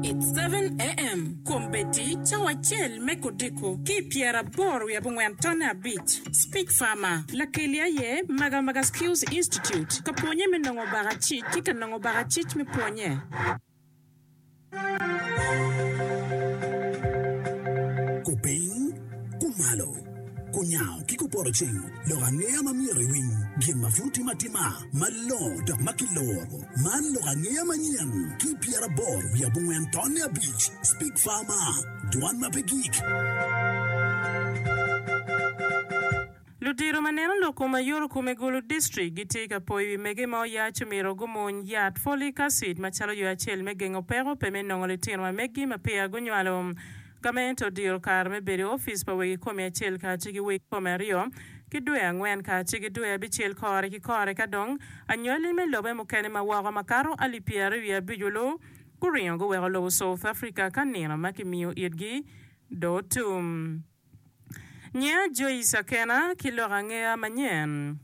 It's 7am, Kombeddi cawa acel me kodiko ki i pyeraboro wiye abongwen tonne abic. Speech Farmer, Lakeli aye Magamaga Skills Institute ka pwonye me nongo bakacic ki ka nongo bakacic me pwonye. Kupiny, kumalo, kunyango ki kupoto ceng, lok angeya ma myero iwiny, gin ma pud timo atima, malongo dok ma kiloro. Man lok angeya manyen ki 84 tonne abic, Speak Farmer, dwan ma pe gik. Ludito ma neno lok kom ayuto kom i Gulu District gitye ka poyo wi mege ma oyac omyero gumuny yat folic acid macalo yo acel me gengo peko pe me nongo litino ma meggi ma peya gunywalo. Gamente odiro kare me bedo i opic pa wegi komi acel kacel ki wegi komi aryo ki dwe angwen kacel ki dwe abicel kore ki kore ka dong anywali me lobe mukene ma woko makato alip pyeraryo wiye abic olu guringo guweko lobo South Africa ka nino ma kimiyo itgi dong otum. Nyinga Joyce Akena ki lok angeya manyen.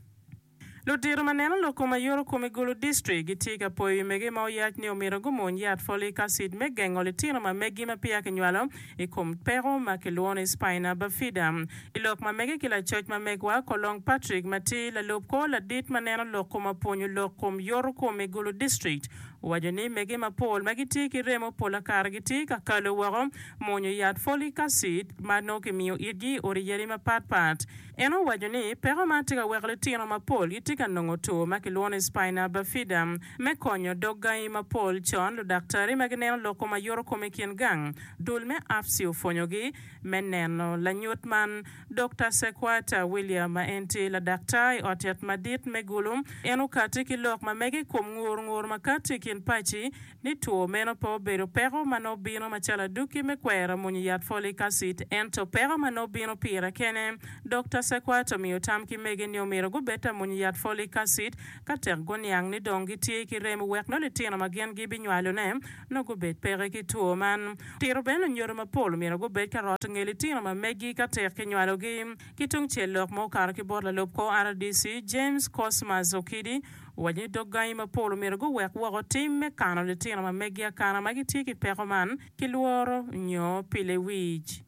Ludito ma neno lok kom ayuto kom i Gulu District gitye ka poyo wi mege ma oyac ni omyero gumony yat folic acid me gengo litino ma megi ma peya kinywalo i kom peko ma kilwongo ni spina bifida. I lok ma mege ki lacoc ma megwa Kolong Patrick ma tye lalub kor ladit ma neno lok kom apwonyo lok kom yoto kom i Gulu District owaco ni mege mapol ma gitye ki remo pola kare gitye ka kalo woko Mwonyo yat folic acid ma nongo kimiyo itgi i odi yadi mapat pat. En owaco ni, Peko man tye ka weko litino mapol gitye ka nongo two ma kilwongo ni spina bifida. Me konyo dog gangi mapol con, ludaktari ma gineno lok kom ayuto kom i kin gang, dul me AFSI opwonyogi me neno lanyut man. Dokta Sekwata William ma en tye ladaktar i ot yat madit me Gulu, en okati ki lok ma mege i kom ngur ngur ma kati i kin paci ni two meno pe obedo peko ma nongo bino macalo adwogi me kwero mwonyo yat folic acid, ento peko ma nongo bino pire kene. Dokta Sekwat omiyo tam ki mege ni omyero gubed ta mwonyo yat folic acid ka tek guniang ni dong gitye ki remo wek nongo litino ma gin gibinywalone nongo gubed peke ki two man. Tito bene lunyodo mapol omyero gubed ka roto nge litino ma megi ka tek kinywalogi. Ki tungcel lok ma okato ki bot lalub kor RDC, James Cosmas Okidi, Owaco ni dog gangi mapol omyero guwek woko tim me kano litino ma meggi akana ma gitye ki peko man ki lworo nyo pi lewic.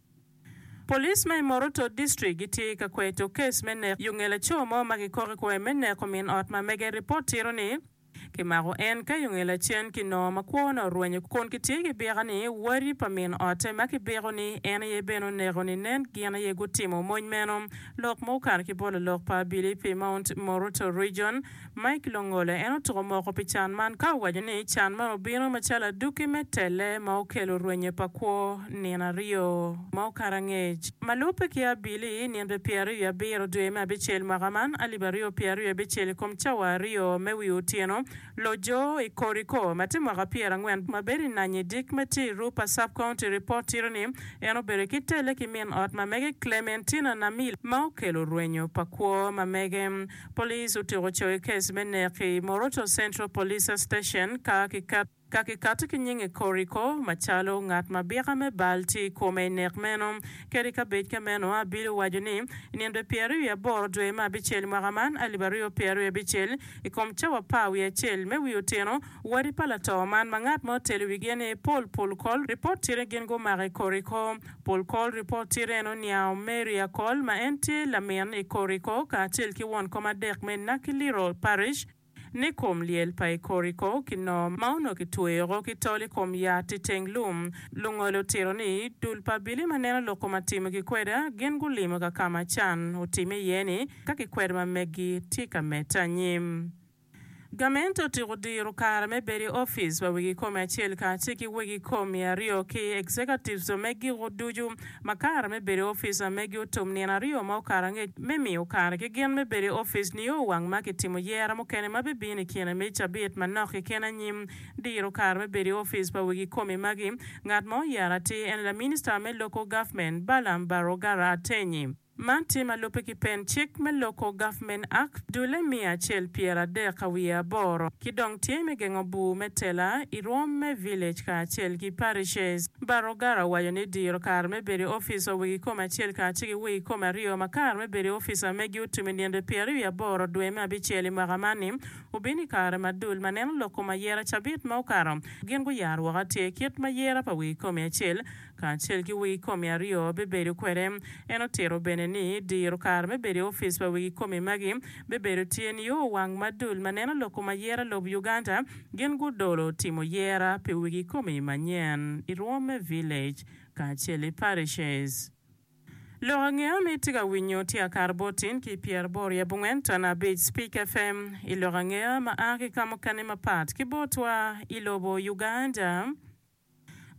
Police ma i Moroto District gitye ka kweto kes me nek yo nge laco mo ma kikok i kome me neko min ot ma mege. Ripot tito ni kimako en ka yo nge lacen kinongo ma kwone orwenyo kun kitye ki byeka ni wadi pa min otte ma kibiko ni en aye bene oneko ni nen gin aye gutimo mony meno. Lok ma okato ki bot lalok pa abili pi Mount Moroto Region, Mike Longole, en otuko moko pi can man ka owaco ni can man obino macalo adwogi me telle ma okelo rwenyo pa kwo nino aryo ma okato angec. Ma lubbe ki abili, nino 27 dwe me abicel mwaka man 2026 i kom cawa aryo me wi otyeno, Lojo i Koriko, ma tye mwaka pyerangwen, ma bedo i Nanyi Dik ma tye i Rupa Sub-County ripot tito ni en obedo ki telle ki min ot ma mege Clementina Namil ma okelo rwenyo pa kwo ma mege. Police otyeko coyo kes me nek i Moroto Central Police Station ka ka kikato ki nyinge Koriko macalo ngat ma byeka me bal tye i kome i nek meno. Kadi ka bed ka meno, abili owaco ni i nino 28 dwe me abicel mwaka man 2026, I kom cawa apar wiye acel me wi otyeno, wadi pa lato man ma ngat ma otelo wigi en aye Paul Pulkol, ripot tye ni gin gumako i Koriko. Pulkol ripot tye ni en oniango Mary Akol ma en tye lamin i Koriko kacel ki won kom adek me Nakiliro Parish ni kom lyel pa i Koriko kinongo ma onongo kitweyo oko ki tol i kom yat i teng lum. Lungolo otito ni dul pa abili ma neno lok kom atimo ki kweda gin gulimo ka ka ma can otime iye ni Ka kikwedo ma meggi tye ka medde anyim. Gamente otyeko diro kare me bedo i opic pa wegi kome acel kacel ki wegi komi aryo ki executives me giko ducu ma kare me bedo i opic ma megi otum nino aryo ma okato angec me miyo kare ki gin me bedo i opic nio wang ma kitimo yera mukene ma bibino i kine me cabit manok keken anyim. Diro kare me bedo i opic pa wegi komi magi ngat ma oyero atir en laminista me Local Government Balaam Barugara Atenyi. Man tye ma lubbe ki pen cik me Local Government Act dulle 138 ki dong tye me gengo bur me tela i rwom me village kacel ki parishes. Barugara owaco ni diro kare me bedo i opic wa wegi kome acel kacel ki wegi kome aryo ma kare me bedo i opic wa megi otum i nino 28 dwe me abicel i mwaka man ni obino i kare ma dul ma neno lok kom ayera cabit ma okato gin guyaro woko atir kit ma yera pa wegi kome acel kacel ki wegi komi aryo bibedo kwede. En otito bene ni diro kare me bedo i opic pa wegi komi magi bibedo tye nio wang ma dul ma neno lok kom ayera lob Uganda gin gudolo timo yera pi wegi komi manyen i rwom me village kacel i parishes. Lok angeya ma itye ka winyo tye akato bot tin ki pyeraboro i abongwen ton abic Speak FM i lok angeya ma a ki ka mukene mapat ki botwa i lobo Uganda.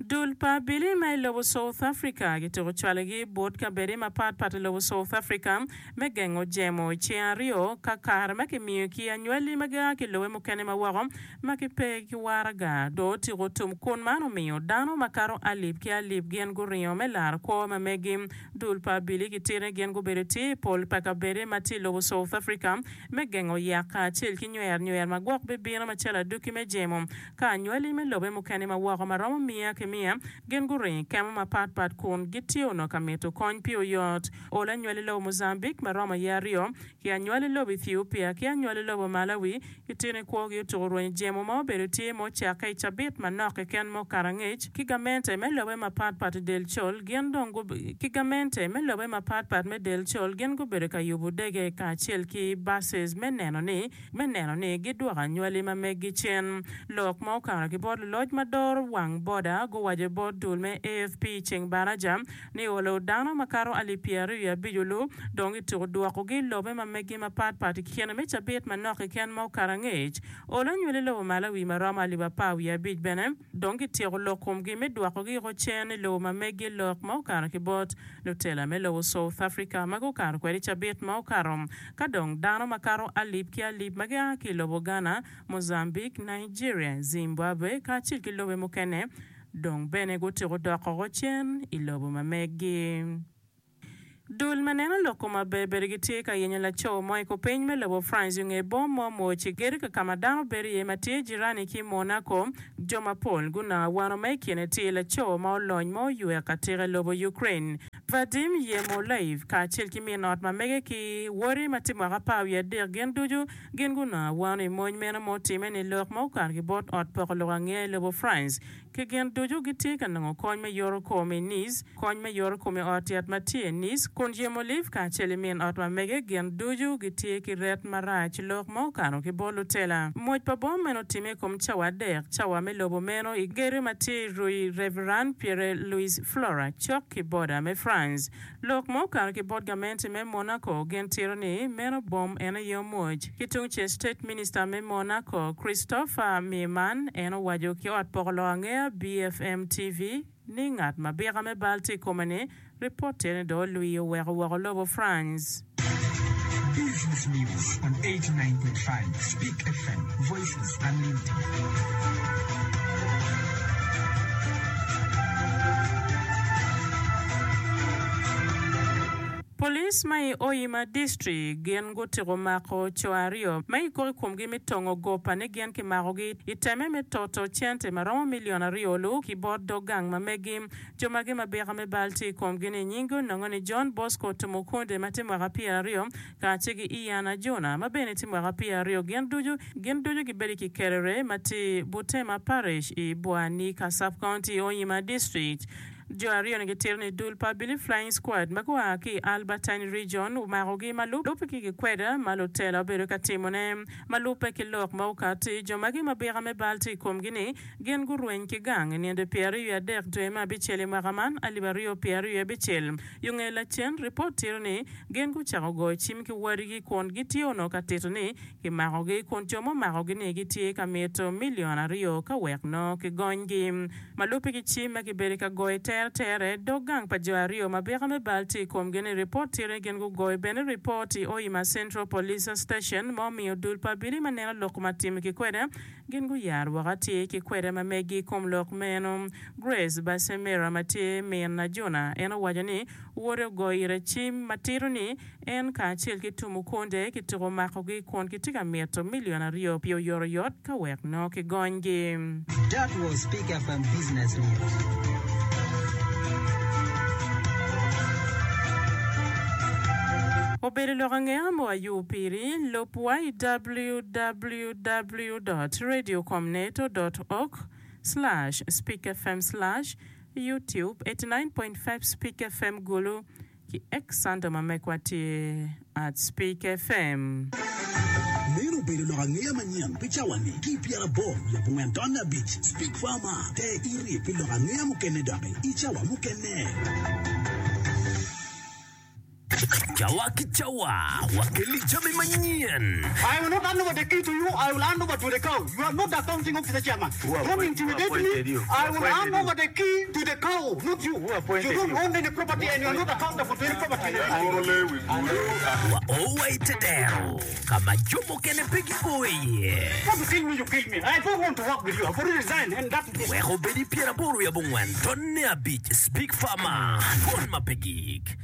Dul pa abili ma i lobo South Africa gituko cwalogi bot kabedi mapat pat i lobo South Africa me gengo jemo i ceng aryo ka kare ma kimiyo ki anywali ma gia ki lobe mukene ma woko ma gipe ki waraga dong otyeko tum kun man omiyo dano makato alip ki alip gin guringo me laro kwo ma megi. Dul pa abili gitito ni gin gubedo tye i pol pa kabedi ma tye i lobo South Africa me gengo yak kacel ki nywer nywer ma gwok bibino macalo adwogi me jemo. Ka anywali me lobe mukene ma woko ma romo miya ki miya gin guringo i kema mapat pat kun gitye onongo ka mito kony pi oyot. Olo anywali lobo Mozambique ma romo aye aryo, ki anywali lobo Ethiopia ki anywali lobo Malawi gitye ni kwogi otuko rwenyo jemo ma obedo tye ma ocakke i cabit manok keken ma okato angec ki gamente me lobe mapat pat i del col gin dong ki gamente me lobe mapat pat me del col gin gubedo ka yubo dege kacel ki buses me neno ni me neno ni gidwoko anywali ma meggi cen. Lok ma okato ki bot luloc ma doro wang boda guwaco bot dul me AFP i ceng baraja ni olo dano makato alip 25 olu dong gituko dwokogi i lobe ma meggi mapat pat i kine me cabit manok keken ma okato angec. Olo anywali lobo Malawi ma romo alip 15 bene dong gityeko lok komgi me dwokogi oko cen i lobo ma meggi lok ma okato ki bot lutela me lobo South Africa ma gukato kwede i cabit ma okato. Ka dong dano makato alip ki alip ma gia ki i lobo Ghana, Mozambique, Nigeria, Zimbabwe kacel ki lobe mukene dong bene gutyeko dok oko cen i lobo ma meggi. Dul ma neno lok kom aber bedo gitye ka yenyo laco mo i kupiny me lobo France i nge bom mo mwoc i gedo ka ka ma dano bedo iye ma tye jirani ki Monaco. Jo mapol gunongo awano ma i kine tye laco ma olony ma oywek atika i lobo Ukraine, Vadim Yermolaev kacel ki min ot ma mege ki wode ma tye mwaka 13 gin ducu gin gunongo awano i mony meno ma otimme-ni lok ma okato ki bot ot poko lok angeya i lobo France. Ki gin ducu gitye ka nongo kony me yoto kom i Nice, kony me yoto kom i ot yat ma tye i Nice, kun Yermolaev kacel i min ot ma mege gin ducu gitye ki ret marac lok ma okato ki bot lutela. Mwoc pa bom meno otimme i kom cawa adek, cawa me lobo meno i gedo ma tye i Rue Reverend Pierre Louis Flora cok ki boda me France. Lok ma okato ki bot gamente me Monaco gin tito ni meno bom en aye omwoc. Ki tungcel State Minister me Monaco Christopher Mirman en owaco ki ot poko lok angeya BFM TV ni ngat ma bika me bal tye i kome ni ripot tye ni dong olwiyo oweko woko lobo France. Business News on 89.5 Speak FM, Voices Unlimited. Police ma i Hoima District gin gutiko mako co aryo ma kikok i komgi me tongo gopa ni gin kimakogi i teme me toto cente ma romo milion aryo olu ki bot dog gang ma megi. Jo magi ma byeka me bal tye i komgi-ni nyingi onongo ni John Bosco Tumukunde ma tye mwaka 20 kacel ki Ian Ajuna ma bene tye mwaka 20. Gin ducu gin ducu gibedo i Kikerere ma tye i Butema Parish i Bwanika Sub-County, Hoima District. Jo aryo-ni gitito ni dul pa Abili Flying Squad ma gua ki i Albertine Region omakogi ma lubbe ki gikweda ma lutela obedo ka timone. Ma lubbe ki lok ma okatti, jo magi ma byeka me bal tye i komgi-ni Gin gurweny ki gang i nino 23 dwe me abicel i mwaka man 2026. Yo nge lacen, ripot tito ni gin gucako goyo cim ki wadigi kun gitye onongo ka tito ni kimakogi kun jo ma omakogi-ni gitye ka mito milion aryo ka wek nongo kigonygi. Ma lubbe ki cim ma kibedo ka goyo i tere. tere tere dog gang pa jo aryo ma byeka me bal tye i komgi ni ripot tye ni gin gugoyo bene ripot i Hoima Central Police Station ma omiyo dul pa abili ma neno lok ma time ki kwede gin guyaro woko atir ki kwede ma megi i kom lok meno. Grace Basemera ma tye min Ajuna en owaco ni wode ogoyo ire cim ma tito ni En kacel ki Tumukunde kituko makogi kun kitye ka mito milion aryo pi oyotoyot ka wek nongo kigonygi. That was Peak FM Business News. Obedo lok angeya mo ayub piri, lub wa i www dot radiocomneto dot org slash speakfm slash youtube 89.5 Speak FM Gulu. Ki X Sandom ma mekwa tye at Speak FM. Meno obedo lok angeya manyen pi cawa-ni ki i pyeraboro wiye abongwen tonne abic. Speak Farmer, Ter iti pi lok angeya mukene doki i cawa mukene. Cawa ki cawa, wakelli jami manyen. I will not hand over the key to you, I will hand over to the cow. You are not the accounting officer chairman. Don't intimidate me, I will hand over the key to the cow, not you. You don't own any property and you are not accountable to any property in the district. Wa o wa i te dero ka ma jo mukene pe gio iye. Want to kill me, you kill me. I don't want to work with you. I've already resigned and that is it. Wek obed i pyeraboro wiye abongwen tonne abic Speak Farmer, Dwon ma pe gik.